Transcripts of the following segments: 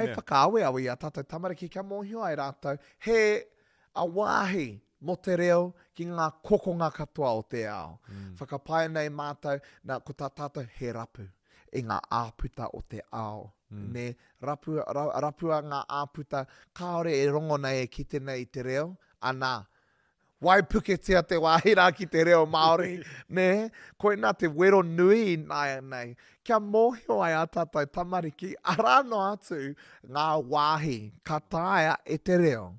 Hei whakaaweawe i a tātou tamariki kia mōhio ai rātou he a wāhi mō te reo ki ngā kokonga katoa o te ao. Mm. Whakapae nei mātou, nā, ko tā tātou he rapu i ngā āputa o te ao. Mm. Nē, rapu, ra, rapua ngā āputa kāore e rongo nei e kite nei i te reo, anā, Waipuketia te wāhi rā ki te reo Māori, nē? Koinā te wero nui ināianei, kia mōhio ai ā tātou tamariki, arā noa atu ngā wāhi ka taea e te reo.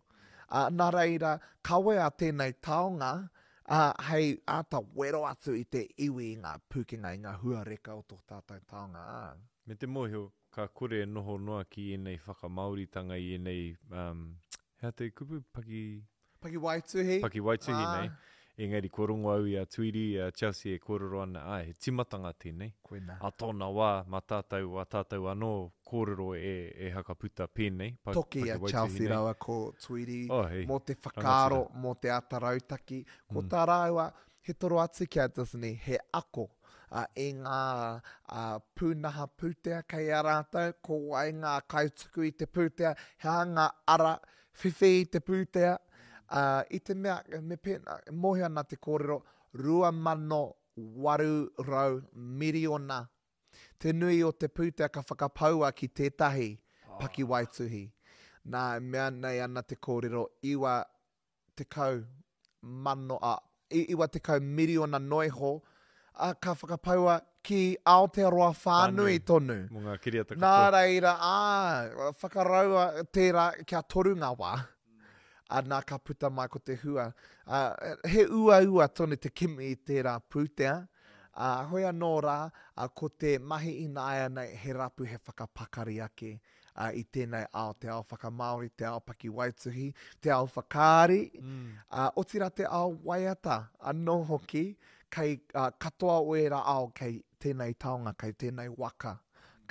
Ā, nā reira, kawea tēnei taonga, ā, hei āta wero atu i te iwi i ngā pūkenga, i ngā hua reka o tō tātou taonga, ā. Me te mōhio, ka kore e noho noa ki ēnei whakamāoritanga i ēnei, um, he aha te kupu, paki, Pakiwaituhi. Pakiwaituhi nei. Engari kua rongo au i a Tuiri, i a Chelsea e kōrero ana, āe, he tīmatanga tēnei. Koinā. A tōna wā, mā tātou, wā tātou anō kōrero e, e hakaputa pēnei, pa, Toki a pakiwaituhi Chelsea nei. rāua ko Tuiri Oh, hei, mō te whakaaro, rangatira. mō te ata rautaki. Ko tā rāua, he toro atu ki a Disney, he ako ā, i ngā ā, pūnaha pūtea kei a rātou, ko wai ngā kaituku i te pūtea, he aha ngā ara whiwhi i te pūtea, ā, i te mea, me pēnā, e mōhio ana te kōrero, 2,800 miriona te nui o te pūtea ka whakapaua ki tētahi pakiwaituhi. Nā, e mea nei ana te kōrero, 90, ā, 90 miriona noiho, ā, ka whakapaua ki Aotearoa whānui tonu. Mō ngā kiriata katoa. Nā reira, ā, whakaraua tērā kia toru ngā wā. Ā, nā ka puta mai ko te hua. Ā, he uaua tonu te kimi i tērā pūtea. Ā, hoi anō rā, ā, ko te mahi ināianei he rapu he whakapakari ake ā, i tēnei ao, te ao whakamāori, te ao pakiwaituhi, te ao whakaari, ā, otirā te ao waiata anō hoki, kei ā, katoa o ērā ao kei tēnei taonga, kei tēnei waka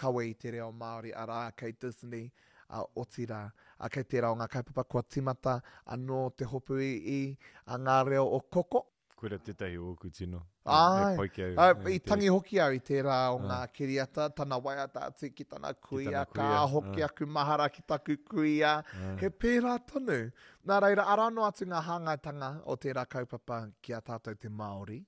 kawe i te reo Māori, arā, kei Disney, ā, otirā, ā, kei tērā o ngā kaupapa kua tīmata anō te hopu i, i ā, ngā reo o Koko. Koira tētahi o ōku tino. Āe, pai ki au. Āe, i tangi hoki au i tērā o ngā kiriata, tana waiata atu ki tana kuia, ka hoki aku mahara ki taku kuia. He pērā tonu. Nā reira, arā noa atu ngā hāngaitanga o tērā kaupapa ki a tātou te Māori.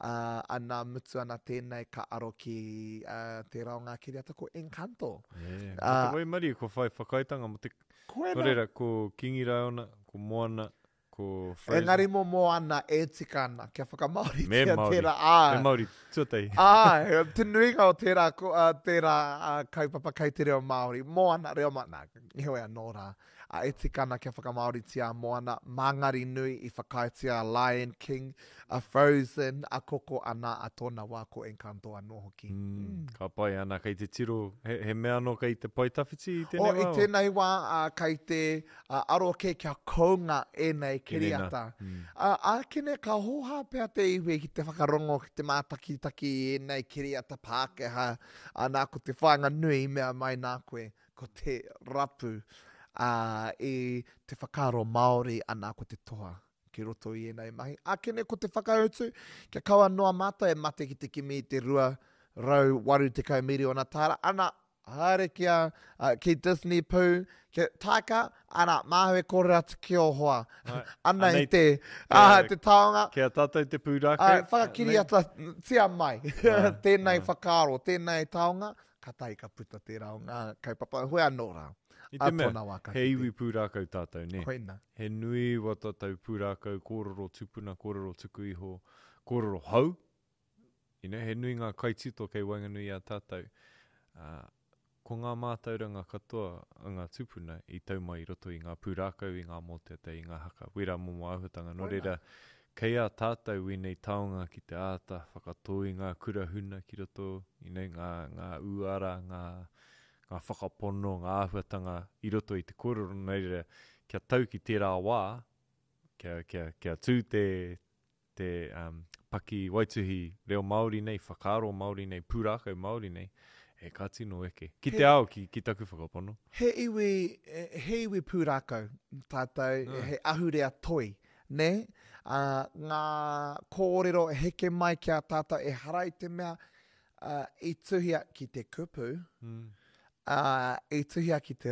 Ā, ana, mutu ana tēnei ka aro ki tērā o ngā kiriata ko Encanto. Ko te waimarie kua whai whakaaetanga mō te... Koina. Nō reira, ko Kingi Raiona, ko Moana, Ko Frozen. Engari mō Moana e tika ana kia whakamāoritia Me Māori. tērā, āe. Me Māori tuatahi. Āe, te nuinga o tērā, ko, uh, tērā uh, kaupapa kei te reo Māori. Moana, reo Māori, nā, heoi anō rā. Uh, e tika ana kia whakamāoritia a Moana, Māngari nui i whakaaetia a Lion King, a Frozen, a Koko ana, a tōna wā ko Encanto anō hoki. Mm, ka pai ana, kei te tiro, he, he mea anō kei te pae tawhiti i tēnei O, wā? i tēnei wā, uh, kei te Ā, aro kē kia kounga ēnei kiriata. Ā, ākene ka hōhā pea te iwi ki te whakarongo, ki te mātakitaki i ēnei kiriata Pākehā, ā, nā ko te whāinga nui i mea mai nā koe, ko te rapu, ā, i te whakaaro Māori, anā ko te toa ki roto i ēnei mahi. Ākene ko te whakautu, kia kaua noa mātou e mate ki te kimi i te 280 miriona tāra, ana, Haere ki a, ki Disney pū, ki Taika, ana, māu e kōrero atu ki ō hoa. Ana i te, ā, te taonga. Ki a tātou te pūrākau. Ā, whakakiriatatia mai tēnei whakaaro, tēnei taonga, kātahi ka puta tērā o ngā kaupapa. Hoi anō rā, I te mea, he iwi pūrākau tātou, nē? Koina. He nui wā tātou pūrākau, kōrero tupuna, kōrero tuku iho, kōrero hou, You know, he nui ngā kaitito kei waenganui i a tātou. Ā, ko ngā mātauranga katoa a ngā tūpuna i tau mai i roto i ngā pūrākau, i ngā mōteatea, i ngā haka, wērā momo āhuatanga. Nō reira, kei a tātou wēnei taonga ki te āta whakatō i ngā kura huna ki roto, you know, ngā, ngā uara, ngā, ngā whakapono, ngā āhuatanga i roto i te kōrero. Nō reira, kia tau ki tērā wā, kia, kia, kia tū te, te um, paki waituhi reo Māori nei, whakaaro Māori nei, pūrākau Māori nei, e ka tino eke. Ki te ao, ki, ki taku whakapono. He iwi, he iwi pūrākau tātou, mm. he ahurea toi, nē? Uh, ngā kōrero heke mai ki a tātou, ehara i te mea uh, i tuhia ki te kupu, mm. ā, i tuhia ki te.